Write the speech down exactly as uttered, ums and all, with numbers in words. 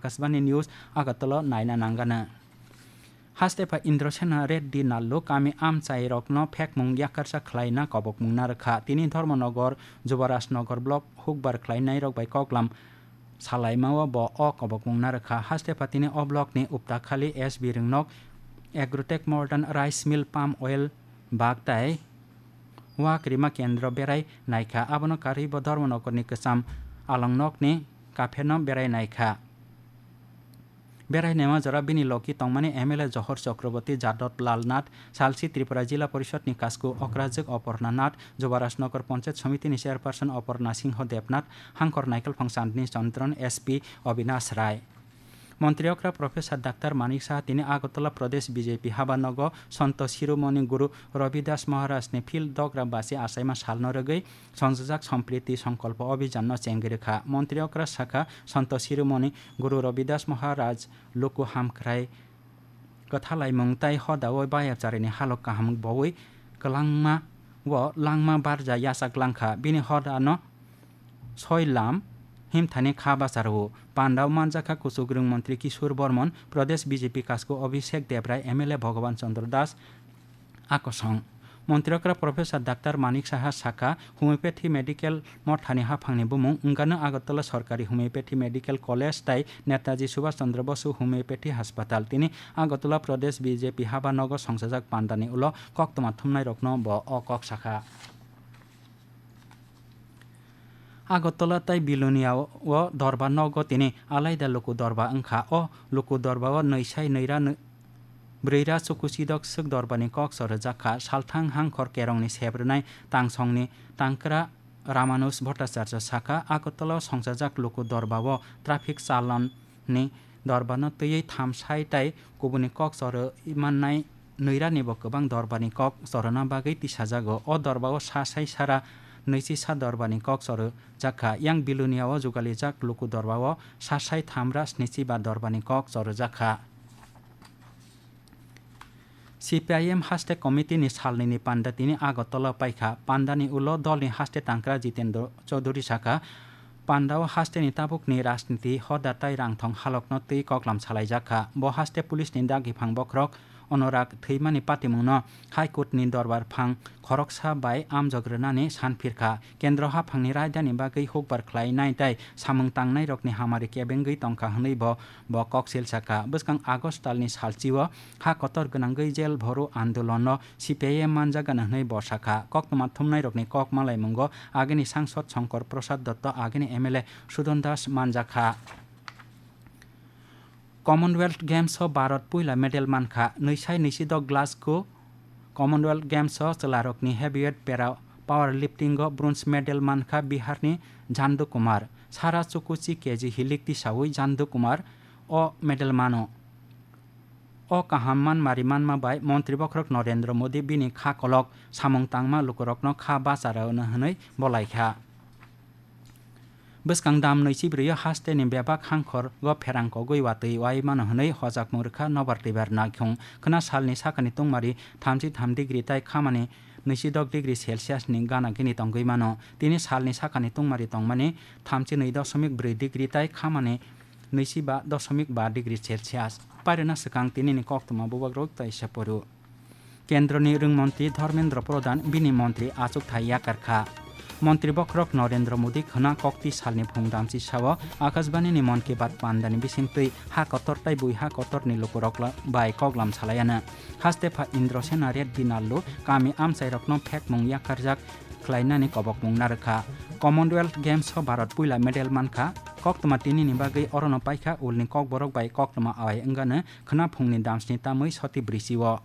Akashbani News, Agartala naina nangano. Hastepha Indrasena Reddy Nallu kami amchairokno phekmung yakarsa khlaina kobokmung narwkha. Tini Dharmanagar, Jubarajnagar block hukbar khlainairok bai koklam salaimao bo o kobokmung narwkha. Hastepha tini o blockni Uptakhali S B Ringnok Agrotech Modern Rice Mill Palm Oil Bag tai Wak rima kendro berai naikha, abono karwi bo Dharmanagarni kwcham alongnokni kapherno berai naikha. Berai naima jora bini logi tongmani M L A Johor Chakraborty, Jadot Lal Nath, Salsi Tripura Jila Porishadni Kasku Okrajwk Oporna Nath, Jubarajnagar Panchayat Samitini Chairperson Oporna Singho Debnath, Hangkor Naikolphang Chandni Chandran, S P Obinash Rai. Montri okra Professor Doctor Manik Saha tini Agartala Pradesh B J P habanogo Santo Shiromoni Guru Ravidas Maharaj ni phil dogra basi achaima salno rwgwi songjajak Sampriti Sankalpa Abhijan no chengwi rwkha. Montri okra sakha, Santo Shiromoni Guru Ravidas Maharaj luku hamkrai kwthalaimung tai hodao bayapcharini halok kaham bowi kwlangma o langma barja yachak langkha. Bini hodano soi lam himthani kha bacharo. Pandao manjakha kuchukrwng montri Kishore Bormon, Pradesh B J P kasku Abhishek Debrai, M L A Bhagavan Chandra Das, akosong. Montri okra Professor Doctor Manik Saha sakha, homeopathy medical mothani haphangni bumung wngkano Agartala Sorkari Homeopathy Medical College tai Netaji Subhash Chandra Bosu Homeopathy Hospital. Tini Agartala Pradesh B J P habanogo songchajak pandani ulo koktwma thumnairokno bo o kok sakha. Agartala tai Bilonia o dorba nogo tini alaida luku dorba wngkha. O luku dorba o nwi sai nwi ra nwi, bwrwi ra chukuchidok swk dorba ni kok chorwjak kha. Salthang Hangkhor Kerong ni sebrwnai Tangsong ni Tangkra Ramanuj Bhattacharya sakha, Agartala o songchajak luku dorba o traffic chalon ni dorbano twiwi tham sai tai kubuni kok chorwi mannai nwi ra ni bo kwbang dorba ni kok chorona bagwi tisajago. O dorba o sa sai sara nwichi sa dorba ni kok chorwi jakha. Yang Bilonia o jugalijak luku dorba o sa sai tham ra snichi ba dorba ni kok chorwi jakha. C P I M haste committee ni salnwi ni panda tini Agartala paikha. Panda ni ulo dol ni haste tangkra Jitendra Chaudhary sakha, panda o haste ni tabuk ni rajniti hoda tai rangthong halok no twi koklam salai jakha. Bo haste police ni dagi phang bokhorok Anurag thwimani patimung no High Court ni dorbar phang khoroksa bai amjok rwnani san phirkha. Kendro haphangni raidani bagwi hukbar khlainai tei samung tangnairokni hamari kebengwi tongkha hwnwi bo, bo koksil sakha. Bwskang August talni salchio ha kotor gwnangwi jel bhoro andolonno C P I M manjagana hwnwi bo sakha. Koktwma thumnairokni kok malaimungo agini sangsod Shankar Prasad Dotto, agini M L A Sudon Das manjakha. Commonwealth Games o Bharat puila medal mankha. Nwi sai nwi si do Glasgow Commonwealth Games o chwlarokni heavyweight para powerlifting o bronze medal mankha Biharni Jandu Kumar. Sara chukuchi K G hilik tisaui Jandu Kumar o medal mano. O kaham manmari manma bai Montri Bokhorok Narendra Modi bini kha kolok samung tangma lukurokno kha bacharao hwnwi bolaikha. Bwskang dam nwi chibrwi o haste ni bebak hangkhor go pherang kogwi watwi wai mano hwnwi hojakmung rwkha nobar twibar naikhung. Khwna salni sakani tungmari thamchi tham degree tai khamani nwi si dok degree Celsius ni gana gini tongwi mano. Tini salni sakani tungmari tongmani thamchi nwi doshomik brwi degree tai khamani nwi si ba doshomik ba degree Celsius. Pairwna swkang tinini koktwma bubagrok tai se poro. Kendroni rwngmontri Dharmendra Pradhan bini montri achukthai yakarkha. Montri bokhorok Narendra Modi khwna kokti salni phung damchi sao Akashbani ni Mann Ki Baat pandani bisingtwi ha kotor tai bui ha kotorni lukurok la-, bai koklam salaiano. Hastepha Indrasena Reddy Nallu kami amchairokno phekmung yakarjak khlainani kobokmung narwkha. Commonwealth Games o Bharat puila medal mankha. Koktwma tinini bagwi orono paikha ulni kokborok bai koktwma awai wngano khwna phungni damsni tamwi soti brisi o.